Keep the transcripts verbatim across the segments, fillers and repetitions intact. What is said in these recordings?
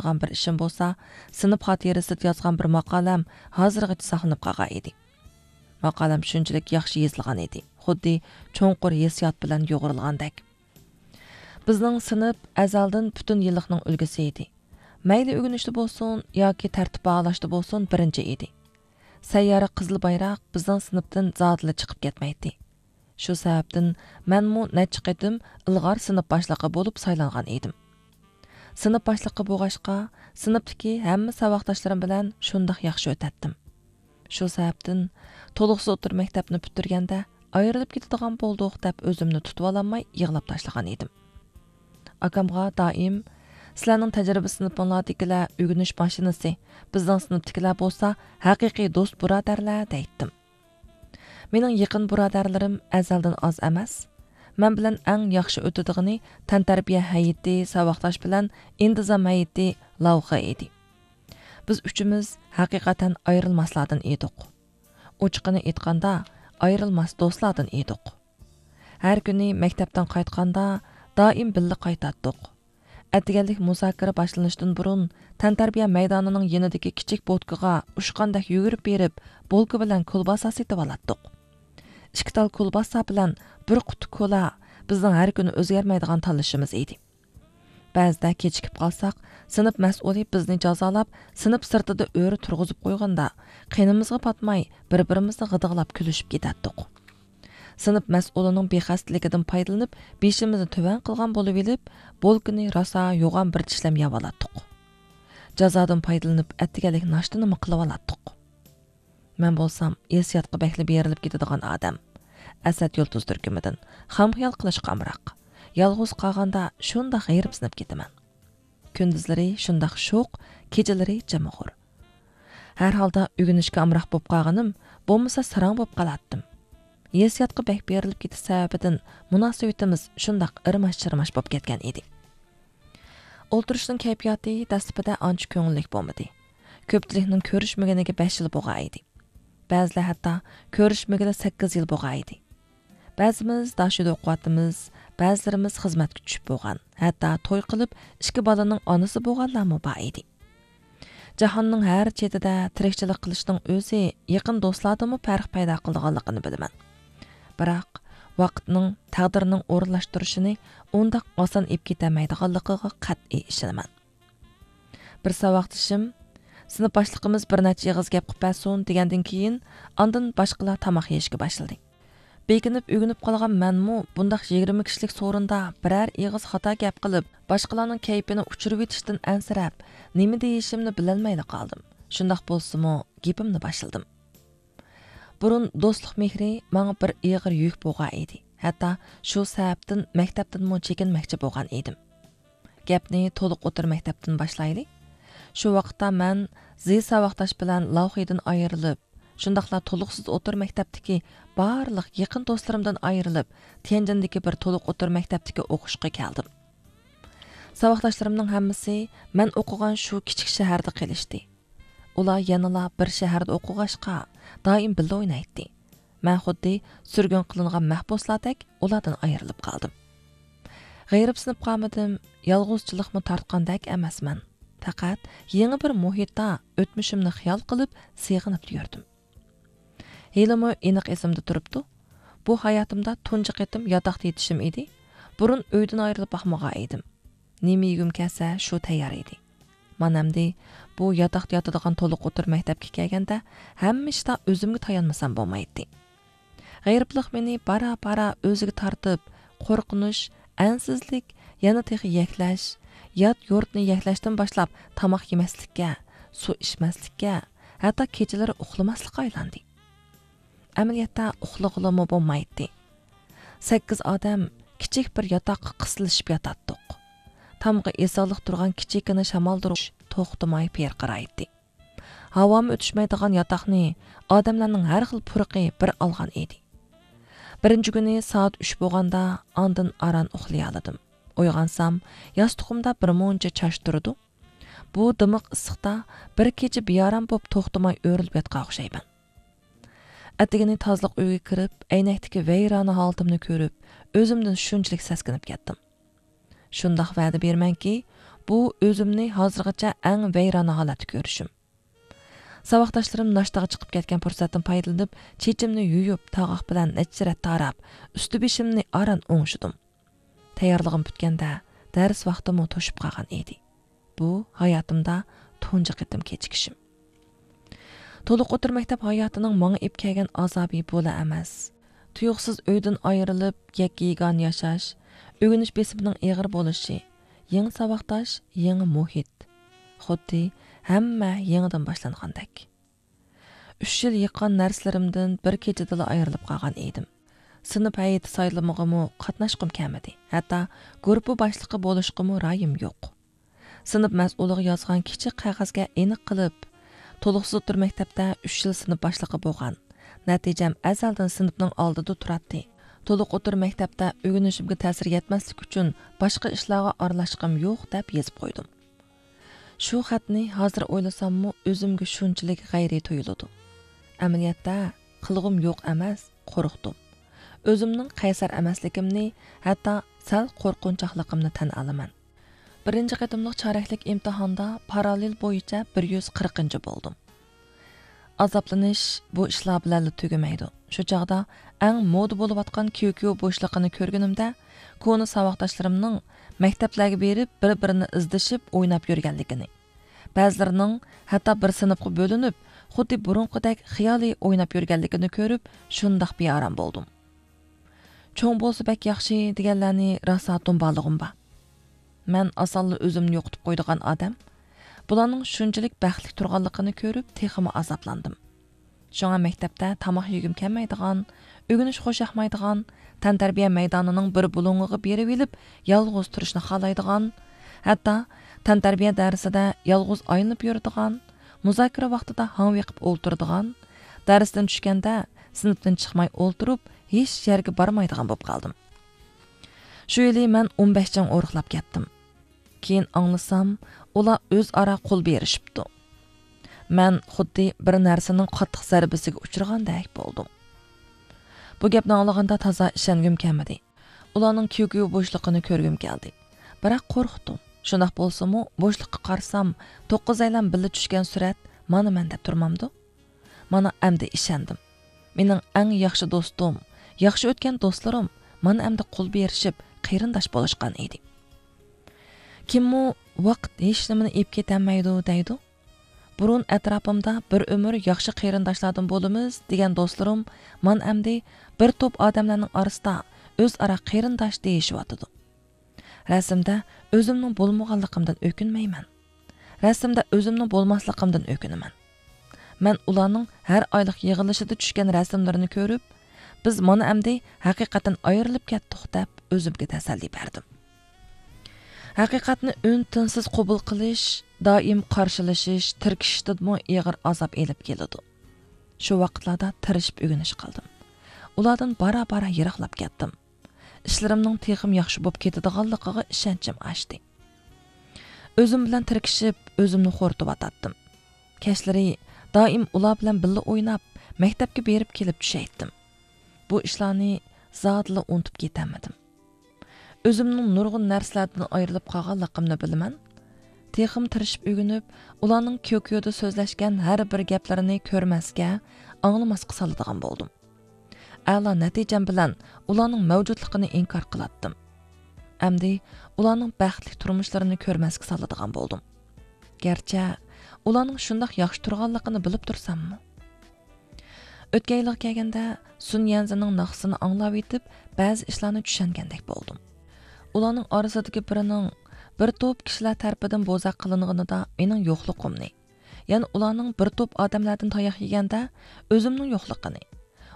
قىلغان بىر ئىشىم بولسا، سىنىپ خاتىرىسىدە يازغان بىر ماقالەم ھازىرغىچە ساقلىنىپ قالغان ئىدى. ماقالەم شۇنچىلىك ياخشى يېزىلغان ئىدى، خۇددى چوڭقۇر ھېسسىيات بىلەن يۇغۇرۇلغاندەك. بىزنىڭ سىنىپ ئەزەلدىن پۈتۈن يىللىقنىڭ ئۈلگىسى ئىدى. مەيلى ئۆگىنىشتە بولسۇن ياكى تەرتىپ باھالاشتا بولسۇن بىرىنچى ئىدى. سەييارە قىزىل بايراق بىزنىڭ سىنىپتىن زادىلا چىقىپ كەتمەيتتى. شۇ سەۋەبتىن مەنمۇ نەچچە قېتىم ئىلغار سىنىپ باشلىقى بولۇپ سايلانغان ئىدىم. سىنىپ باشلىقى بولغاچقا، سىنىپتىكى ھەممە ساۋاقداشلىرىم بىلەن شۇنداق ياخشى ئۆتەتتىم. شۇ سەۋەبتىن تولۇقسىز ئوتتۇرا مەكتەپنى پۈتتۈرگەندە، ئايرىلىپ كېتىدىغان بولدۇق دەپ ئۆزۈمنى تۇتۇۋالالماي يىغلاپ تاشلىغان ئىدىم. ئاكامغا دائىم، «سىلەرنىڭ تەجرىبە سىنىپىڭلاردىكىلەر ئۆگىنىش ماشىنىسى، بىزنىڭ سىنىپتىكىلەر بولسا ھەقىقىي دوست بۇرادەرلەر» دەيتتىم. مېنىڭ يېقىن بۇرادەرلىرىم ئەزەلدىن ئاز ئەمەس. مەن بىلەن ئەڭ ياخشى ئۆتىدىغىنى تەنتەربىيە ھەيئىتى ساۋاقداش بىلەن ئىنتىزام ھەيئىتى لاۋخې ئىدى. بىز ئۈچىمىز ھەقىقەتەن ئايرىلماسلاردىن ئىدۇق. ئوچۇقىنى ئېيتقاندا، ئايرىلماس دوستلاردىن ئىدۇق. ھەر كۈنى مەكتەپتىن قايتقاندا، دائىم بىللە قايتاتتۇق. ئەتىگەنلىك مۇزاكىرە باشلىنىشتىن بۇرۇن، تەنتەربىيە مەيدانىنىڭ يېنىدىكى كىچىك بوتكىغا ئۇچقاندەك يۈگۈرۈپ بېرىپ، بولكا بىلەن كولباسا سېتىۋالاتتۇق. ئىككى تال كولباسا بىلەن بىر قۇتا كولا بىزنىڭ ھەر كۈنى ئۆزگەرمەيدىغان تاللىشىمىز ئىدى. بەزىدە كېچىكىپ قالساق، سىنىپ مەسئۇلى بىزنى جازالاپ، سىنىپ سىرتىدا ئۆرە تۇرغۇزۇپ قويغاندا، قېنىمىزغا پاتماي، بىر-بىرىمىزنى غىدىقلاپ كۈلۈشۈپ كېتەتتۇق. سىنىپ مەسئۇلىنىڭ بىخەستىلىكىدىن پايدىلىنىپ، بېشىمىزنى تۆۋەن قىلغان بولۇۋېلىپ، بولكىنى راسا يوغان بىر چىشلەم يەۋالاتتۇق. جازادىن پايدىلىنىپ، ئەتىگەنلىك ناشتىنىمۇ قىلىۋالاتتۇق. مەن بولسام ھېسسىياتقا بەكلا بېرىلىپ كېتىدىغان ئادەم. ئەسەت يۇلتۇز تۈركۈمىدىن خام خىيال قىلىشقا ئامراق. يالغۇز قالغاندا شۇنداق غېرىبسىنىپ كېتىمەن. كۈندۈزلىرى شۇنداق شوخ، كېچىلىرى جىمىغۇر. ھەر ھالدا ئۆگىنىشكە ئامراق بولۇپ قالغىنىم، بولمىسا ساراڭ بولۇپ قالاتتىم. ھېسسىياتقا بەك بېرىلىپ كېتىش سەۋەبىدىن مۇناسىۋىتىمىز شۇنداق ئىرماش-چىرماش بولۇپ كەتكەن ئىدى. ئولتۇرۇشنىڭ كەيپىياتى دەسلىپىدە ئانچە كۆڭۈللۈك بولمىدى. كۆپچىلىكنىڭ كۆرۈشمىگىنىگە بەش يىل بولغان ئىدى. بەزىلەر ھەتتا كۆرۈشمىگىلى سەككىز يىل بولغان ئىدى. بەزىمىز داشۆدە ئوقۇۋاتىمىز، بەزىلىرىمىز خىزمەتكە چۈشۈپ بولغان، ھەتتا توي قىلىپ، ئىككى بالىنىڭ ئانىسى بولغانلارمۇ بار ئىدى. جاھاننىڭ ھەر چېتىدە تىرىكچىلىك قىلىشنىڭ ئۆزى يېقىن دوستلاردىنمۇ پەرق پەيدا قىلىدىغانلىقىنى بىلىمەن. بىراق، ۋاقىتنىڭ، تەقدىرنىڭ ئورۇنلاشتۇرۇشىنى ئۇنداق ئاسان ئېلىپ كېتەلمەيدىغانلىقىغا قەتئىي ئىشىنىمەن. بىر ساۋاقدىشىم، سىنىپ باشلىقىمىز بىر نەچچە ئېغىز گەپ قىلىپ بەرسۇن، دېگەندىن كېيىن، ئاندىن باشقىلار تاماق يېيىشكە باشلىدى. بېكىنىپ ئۆگىنىپ قالغان مەنمۇ بۇنداق يىگىرمە كىشىلىك سورۇندا بىرەر ئېغىز خاتا گەپ قىلىپ، باشقىلارنىڭ كەيپىنى ئۇچۇرۇۋېتىشتىن ئەنسىرەپ، نېمە دېيىشىمنى بىلەلمەيلا قالدىم. شۇنداق بولسىمۇ، گېپىمنى باشلىدىم. بۇرۇن دوستلۇق مېھرى ماڭا بىر ئېغىر يۈك بولغان ئىدى. ھەتتا شۇ سەۋەبتىن مەكتەپتىنمۇ چېكىنمەكچى بولغان ئىدىم. گەپنى تولۇق ئوتتۇرا مەكتەپتىن باشلايلى. شۇ ۋاقىتتا مەن زى ساۋاقداش بىلەن لاۋخىدىن ئايرىلىپ، شۇنداقلا تولۇقسىز ئوتتۇرا مەكتەپتىكى بارلىق يېقىن دوستلىرىمدىن ئايرىلىپ، تيەنجىندىكى بىر تولۇق ئوتتۇرا مەكتەپتىكى ئوقۇشقا كەلدىم. ساۋاقداشلىرىمنىڭ ھەممىسى مەن ئوقۇغان شۇ كىچىك شەھەردە قېلىشتى. ئۇلار يەنىلا بىر شەھەردە ئوقۇغاچقا، دائىم بىللە ئوينايتتى. مەن خۇددى سۈرگۈن قىلىنغان مەھبۇسلاردەك ئۇلاردىن ئايرىلىپ قالدىم. غېرىبسىنىپ قالمىدىم، يالغۇزچىلىقمۇ تارتقاندەك ئەمەسمەن. پەقەت يېڭى بىر مۇھىتتا ئۆتمۈشۈمنى خىيال قىلىپ، سېغىنىپ يۈردۈم. ھېلىمۇ ئېنىق ئېسىمدە تۇرۇپتۇ. بۇ ھاياتىمدا تۇنجى قېتىم ياتاقتا يېتىشىم ئىدى. بۇرۇن ئۆيدىن ئايرىلىپ باقمىغان ئىدىم. نېمە يېگۈم كەلسە، شۇ تەييار ئىدى. مانا ئەمدى بۇ ياتاقتا ياتىدىغان تولۇق ئوتتۇرا مەكتەپكە كەلگەندە، ھەممە ئىشتا ئۆزۈمگە تايانمىسام بولمايتتى. غېرىبلىق مېنى بارا-بارا ئۆزىگە تارتىپ، قورقۇنچ، ئەنسىزلىك، يەنە تېخى يەكلەش، يات يۇرتنى يەكلەشتىن باشلاپ تاماق يېمەسلىككە، سۇ ئىچمەسلىككە، ھەتتا كېچىلىرى ئۇخلىماسلىققا ئايلاندى. ئەمەلىيەتتە ئۇخلىغىلىمۇ بولمايتتى. سەككىز ئادەم كىچىك بىر ياتاققا قىستىلىشىپ ياتاتتۇق. تامغا ئېسىقلىق تۇرغان كىچىككىنە شامالدۇرغۇچ توختىماي پىرقىرايتتى. ھاۋامۇ ئۆتۈشمەيدىغان ياتاقنى ئادەملەرنىڭ ھەر خىل پۇرىقى بىر ئالغان ئىدى. بىرىنچى كۈنى سائەت ئۈچ بولغاندا ئاندىن ئاران ئۇخلىيالىدىم. ئويغانسام، ياستۇقۇمدا بىر مۇنچە چاچ تۇرىدۇ. بۇ دىمىق ئىسسىقتا بىر كېچە بىئارام بولۇپ توختىماي ئۆرۈلۈپ ياتقان ئوخشايمەن. ئەتىگىنى تازىلىق ئۆيگە كىرىپ، ئەينەكتىكى ۋەيرانە ھالىتىمنى كۆرۈپ، ئۆزۈمدىن شۇنچىلىك سەسكىنىپ كەتتىم. شۇنداق ۋەدە بېرىمەنكى، بۇ ئۆزۈمنى ھازىرغىچە ئەڭ ۋەيرانە ھالەتتە كۆرۈشۈم. ساۋاقداشلىرىم ناشتىغا چىقىپ كەتكەن پۇرسەتتىن پايدىلىنىپ، چېچىمنى يۇيۇپ، تاغاق بىلەن نەچچە رەت تاراپ، ئۈستى بېشىمنى ئاران ئوڭشىدىم. تەييارلىقىم پۈتكەندە، دەرس ۋاقتىمۇ توشۇپ قالغان ئىدى. بۇ ھاياتىمدا تۇنجى قېتىم كېچىكىشىم. تولۇق ئوتتۇرا مەكتەپ ھاياتىنىڭ ماڭا ئېلىپ كەلگەن ئازابى بۇلا ئەمەس. تۇيۇقسىز ئۆيدىن ئايرىلىپ، يەككە-يېگانە ياشاش، ئۆگىنىش بېسىمىنىڭ ئېغىر بولۇشى، يېڭى ساۋاقداش، يېڭى مۇھىت. خۇددى ھەممە يېڭىدىن باشلانغاندەك. ئۈچ يىل يىغقان نەرسىلىرىمدىن بىر كېچىدىلا ئايرىلىپ قالغان ئىدىم. سىنىپ ھەيئىتى سايلىمىغىمۇ قاتناشقۇم كەلمىدى. ھەتتا گۇرۇپپا باشلىقى بولۇشقىمۇ رايىم يوق. سىنىپ مەسئۇلىغا يازغان كىچىك قەغەزگە ئېنىق قىلىپ، تولۇقسىز ئوتتۇرا مەكتەپتە ئۈچ يىل سىنىپ باشلىقى بولغان. نەتىجەم ئەزەلدىن سىنىپنىڭ ئالدىدا تۇراتتى. تولۇق ئوتتۇرا مەكتەپتە ئۆگىنىشىمگە تەسىر يەتمەسلىك ئۈچۈن باشقا ئىشلارغا ئارىلاشقۇم يوق دەپ يېزىپ قويدۇم. شۇ خەتنى ھازىر ئويلىساممۇ ئۆزۈمگە شۇنچىلىك غەيرىي تۇيۇلىدۇ. ئەمەلىيەتتە قىلغۇم يوق ئەمەس، قورقتۇم. ئۆزۈمنىڭ قەيسەر ئەمەسلىكىمنى، ھەتتا سەل قورقۇنچاقلىقىمنى تەن ئالىمەن. بىرىنچى قېتىملىق چارەكلىك ئىمتىھاندا پاراللېل بويىچە بىر يۈز قىرىقىنچى بولدۇم. ئازابلىنىش بۇ ئىشلار بىلەنلا تۈگىمەيدۇ. شۇ چاغدا ئەڭ مودا بولۇۋاتقان كيۇكيۇ بوشلۇقىنى كۆرگىنىمدە، كونا ساۋاقداشلىرىمنىڭ مەكتەپلەرگە بېرىپ، بىر-بىرىنى ئىزدىشىپ ئويناپ يۈرگەنلىكىنى، بەزىلىرىنىڭ ھەتتا بىر سىنىپقا بۆلۈنۈپ، خۇددى بۇرۇنقىدەك خىيالىي ئويناپ يۈرگەنلىكىنى كۆرۈپ، شۇنداق بىئارام بولدۇم. چوڭ بولسا بەك ياخشى دېگەنلەرنى راسا دۇمبالىغۇم بار. مەن ئاسانلا ئۆزۈمنى يوقىتىپ قويىدىغان ئادەم. بۇلارنىڭ شۇنچىلىك بەختلىك تۇرغانلىقىنى كۆرۈپ، تېخىمۇ ئازابلاندىم. شۇڭا مەكتەپتە تاماق يېگۈم كەلمەيدىغان، ئۆگىنىش خۇشياقمايدىغان، تەنتەربىيە مەيدانىنىڭ بىر بۇلۇڭىغا بېرىۋېلىپ، يالغۇز تۇرۇشنى خالايدىغان، ھەتتا تەنتەربىيە دەرسىدە يالغۇز ئايلىنىپ يۈرىدىغان، مۇزاكىرە ۋاقتىدا ھاڭۋېقىپ ئولتۇرىدىغان، دەرستىن چۈشكەندە سىنىپتىن چىقماي ئولتۇرۇپ، ھېچ يەرگە بارمايدىغان بولۇپ قالدىم. شۇ يىلى مەن ئون بەش جەڭ ئورۇقلاپ كەتتىم. كېيىن ئاڭلىسام، ئۇلار ئۆزئارا قول بېرىشىپتۇ. مەن خۇددى بىر نەرسىنىڭ قاتتىق زەربىسىگە ئۇچرىغاندەك بولدۇم. بۇ گەپنى ئاڭلىغاندا تازا ئىشەنگۈم كەلمىدى. ئۇلارنىڭ كيۇكيۇ بوشلۇقىنى كۆرگۈم كەلدى. بىراق قورقتۇم. شۇنداق بولسىمۇ، بوشلۇققا قارىسام، توققۇزەيلەن بىللە چۈشكەن سۈرەت مانا مەن دەپ تۇرمامدۇ؟ مانا ئەمدى ئىشەندىم. مېنىڭ ئەڭ ياخشى دوستۇم، ياخشى ئۆتكەن دوستلىرىم مانا ئەمدى قول بېرىشىپ، قېرىنداش بولۇشقان ئىدى. كىممۇ «ۋاقىت ھېچنېمىنى ئېلىپ كېتەلمەيدۇ» دەيدۇ؟ بۇرۇن ئەتراپىمدا بىر ئۆمۈر ياخشى قېرىنداشلاردىن بولىمىز دېگەن دوستلىرىم مانا ئەمدى بىر توپ ئادەملەرنىڭ ئارىسىدا ئۆزئارا قېرىنداش دېيىشىۋاتىدۇ. رەسىمدە ئۆزۈمنىڭ بولمىغانلىقىمدىن ئۆكۈنمەيمەن. رەسىمدە ئۆزۈمنىڭ بولماسلىقىمدىن ئۆكۈنىمەن. مەن ئۇلارنىڭ ھەر ئايلىق يىغىلىشىدا چۈشكەن رەسىملىرىنى كۆرۈپ، بىز مانا ئەمدى ھەقىقەتەن ئايرىلىپ كەتتۇق دەپ ئۆزۈمگە تەسەللى بەردىم. ھەقىقەتنى ئۈن-تىنسىز قوبۇل قىلىش، دائىم قارشىلىشىش، تىركىشىشتىنمۇ ئېغىر ئازاب ئېلىپ كېلىدۇ. شۇ ۋاقىتلاردا تىرىشىپ ئۆگىنىش قىلدىم. ئۇلاردىن بارا-بارا يىراقلاپ كەتتىم. ئىشلىرىمنىڭ تېخىمۇ ياخشى بولۇپ كېتىدىغانلىقىغا ئىشەنچىم ئاشتى. ئۆزۈم بىلەن تىركىشىپ، ئۆزۈمنى خورىتىۋاتاتتىم. كەچلىرى دائىم ئۇلار بىلەن بىللە ئويناپ، مەكتەپكە بېرىپ كېلىپ چۈشەيتتىم. بۇ ئىشلارنى زادىلا ئۇنتۇپ كېتەلمىدىم. ئۆزۈمنىڭ نۇرغۇن نەرسىلەردىن ئايرىلىپ قالغانلىقىمنى بىلىمەن. تېخىمۇ تىرىشىپ ئۆگىنىپ، ئۇلارنىڭ كيوكيودا سۆزلەشكەن ھەر بىر گەپلىرىنى كۆرمەسكە، ئاڭلىماسقا سالىدىغان بولدۇم. ئەلا نەتىجەم بىلەن ئۇلارنىڭ مەۋجۇتلۇقىنى ئىنكار قىلاتتىم. ئەمدى ئۇلارنىڭ بەختلىك تۇرمۇشلىرىنى كۆرمەسكە سالىدىغان بولدۇم. گەرچە ئۇلارنىڭ شۇنداق ياخشى تۇرغانلىقىنى بىلىپ تۇرساممۇ. ئۆتكەن يىلغا كەلگەندە سۈن يەنزىنىڭ ناخشىسىنى ئاڭلاۋېتىپ، بەزى ئىشلارنى چۈشەنگەندەك بولدۇم. ئۇلارنىڭ ئارىسىدىكى بىرىنىڭ بىر توپ كىشىلەر تەرىپىدىن بوزەك قىلىنغىنىدا مېنىڭ يوقلۇقۇمنى، يەنە ئۇلارنىڭ بىر توپ ئادەملەردىن تاياق يېگەندە ئۆزۈمنىڭ يوقلۇقىنى،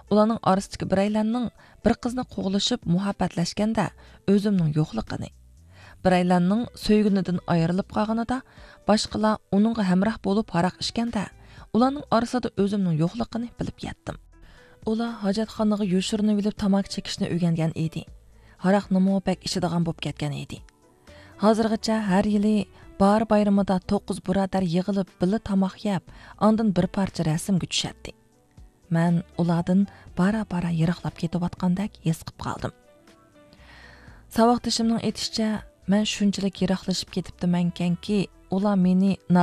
ئۇلارنىڭ ئارىسىدىكى بىرەيلەننىڭ بىر قىزنى قوغلىشىپ مۇھەببەتلەشكەندە ئۆزۈمنىڭ يوقلۇقىنى، بىرەيلەننىڭ سۆيگىنىدىن ئايرىلىپ قالغىنىدا باشقىلار ئۇنىڭغا ھەمراھ بولۇپ ھاراق ئىچكەندە ئۇلارنىڭ ئارىسىدا ئۆزۈمنىڭ يوقلۇقىنى بىلىپ يەتتىم. ئۇلار ھاجەتخانىغا يوشۇرۇنۇۋېلىپ تاماكا چېكىشنى ئۆگەنگەن ئىدى. ھاراقنىمۇ بەك ئىچىدىغان بولۇپ كەتكەن ئىدى. ھازىرغىچە ھەر يىلى باھار بايرىمىدا توققۇز بۇرادەر يىغىلىپ بىللە تاماق يەپ، ئاندىن بىر پارچە رەسىمگە چۈشەتتى. مەن ئۇلاردىن بارا-بارا يىراقلاپ كېتىۋاتقاندەك ھېس قىپ قالدىم. ساۋاقدىشىمنىڭ ئېيتىشىچە، مەن شۇنچىلىك يىراقلىشىپ كېتىپتىمەنكەنكى، ئۇلار مېنى